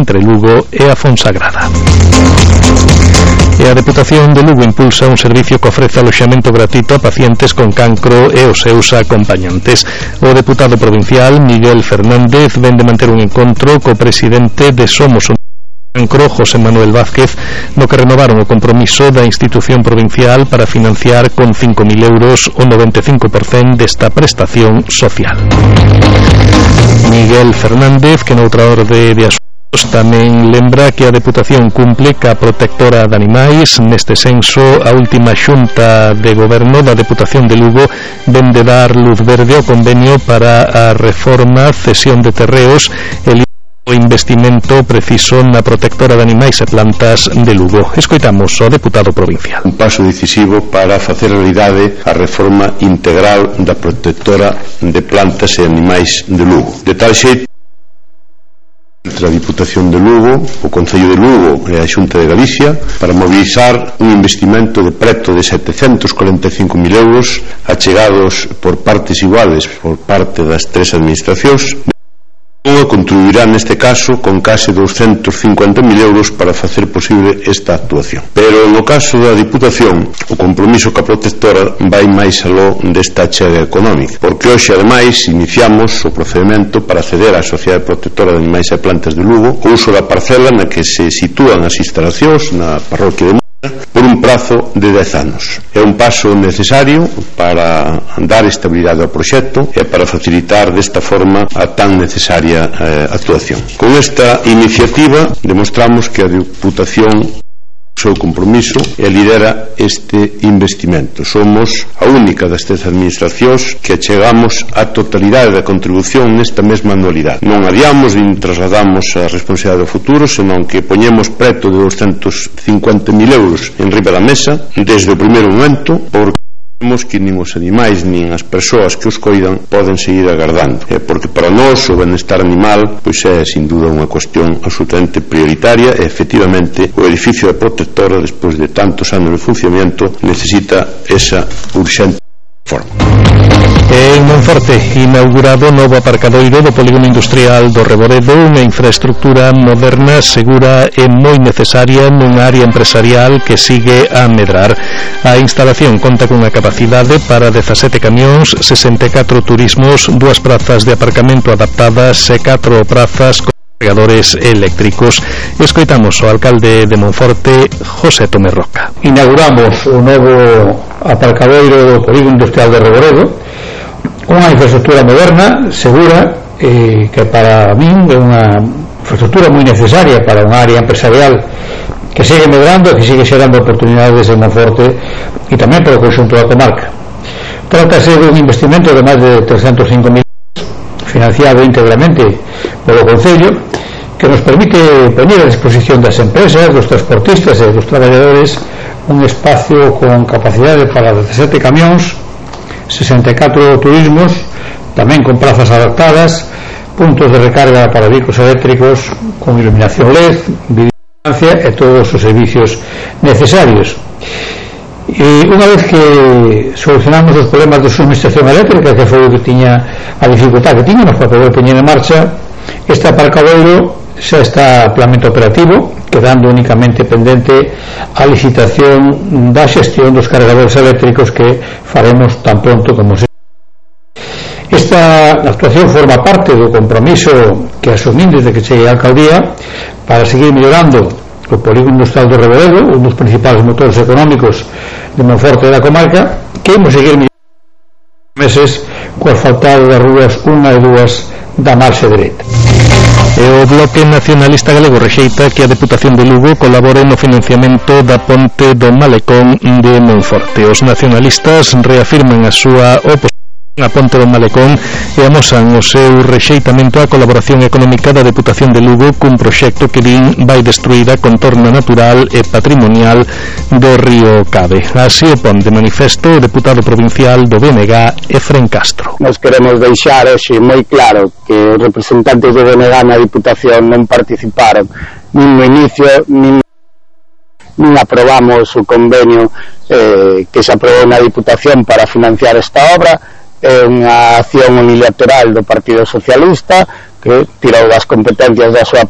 entre Lugo e a Fonsagrada. E a Deputación de Lugo impulsa un servicio que ofrece aloxamento gratuito a pacientes con cancro e os seus acompañantes. O deputado provincial Miguel Fernández vén de manter un encontro co presidente de Somos o Cancro, José Manuel Vázquez, no que renovaron o compromiso da institución provincial para financiar con 5.000 euros o 95% desta prestación social. Miguel Fernández, que noutra orde de asuntos tamén lembra que a Deputación cumple ca protectora de animais. Neste senso, a última xunta de goberno da Deputación de Lugo ven de dar luz verde ao convenio para a reforma, cesión de terreos e o investimento preciso na protectora de animais e plantas de Lugo. Escoitamos ao deputado provincial. Un paso decisivo para facer realidade a reforma integral da protectora de plantas e animais de Lugo. De tal xeito, entre a Diputación de Lugo, o Concello de Lugo e a Xunta de Galicia para mobilizar un investimento de preto de 745.000 euros achegados por partes iguales por parte das tres administracións. Contribuirá neste caso con case 250.000 euros para facer posible esta actuación. Pero no caso da Diputación, o compromiso ca protectora vai máis aló desta achega económica, porque hoxe ademais iniciamos o procedimento para acceder á Sociedade Protectora de Animais e Plantas de Lugo o uso da parcela na que se sitúan as instalacións na parroquia de por un prazo de 10 anos. É un paso necesario para dar estabilidade ao proxecto e para facilitar desta forma a tan necesaria actuación. Con esta iniciativa demostramos que a Deputación seu compromiso e lidera este investimento. Somos a única das tres administracións que achegamos a totalidade da contribución nesta mesma anualidade. Non adiamos nin trasladamos a responsabilidade do futuro, senón que poñemos preto de 250.000 euros en riba da mesa desde o primeiro momento, porque vemos que nin os animais nin as persoas que os coidan poden seguir agardando, porque para nós o benestar animal pois é sin duda unha cuestión absolutamente prioritaria e efectivamente o edificio da protectora despois de tantos anos de funcionamento necesita esa urxente forma. En Monforte, inaugurado o novo aparcadoiro do Polígono Industrial do Reboredo, unha infraestructura moderna, segura e moi necesaria nunha área empresarial que sigue a medrar. A instalación conta cunha capacidade para 17 camións, 64 turismos, 2 prazas de aparcamento adaptadas e 4 prazas con cargadores eléctricos. Escoitamos o alcalde de Monforte, José Tomé Roca. Inauguramos o novo aparcadoiro do Polígono Industrial de Reboredo, unha infraestructura moderna, segura, que para min é unha infraestructura moi necesaria para unha área empresarial que sigue medrando e que sigue xerando oportunidades en Monforte e tamén para o conxunto da comarca. Trátase de un investimento de máis de 305.000 financiado íntegramente polo Concello, que nos permite poñer a disposición das empresas, dos transportistas e dos traballadores un espacio con capacidade para 17 camións, 64 turismos, tamén con plazas adaptadas, puntos de recarga para vehículos eléctricos con iluminación LED, videovigilancia e todos os servicios necesarios. E unha vez que solucionamos os problemas de suministración eléctrica, que foi o que tiña a dificultade que tiñamos para poder poñer en marcha, este aparcadoiro xa está plenamente operativo, quedando únicamente pendente a licitación da xestión dos cargadores eléctricos que faremos tan pronto como se. Esta actuación forma parte do compromiso que asumín desde que cheguei á alcaldía para seguir mellorando o Polígono Industrial do Reboredo, un dos principales motores económicos de Monforte e da comarca, que imos seguir mellorando meses co asfaltado das rúas 1 e 2 da marxe dereita. E o Bloque Nacionalista Galego rexeita que a Deputación de Lugo colabore no financiamento da ponte do Malecón de Monforte. Os nacionalistas reafirman a súa oposición a ponte do Malecón e amosan o seu rexeitamento á colaboración económica da Deputación de Lugo cun proxecto que din vai destruir a contorna natural e patrimonial do río Cabe. Así o pon de manifesto o deputado provincial do BNG, Efrén Castro. Nos queremos deixar hoxe moi claro que os representantes do BNG na Diputación non participaron nin no inicio nin aprobamos o convenio que se aprobou na Diputación para financiar esta obra. É unha acción unilateral do Partido Socialista que tirou das competencias da súa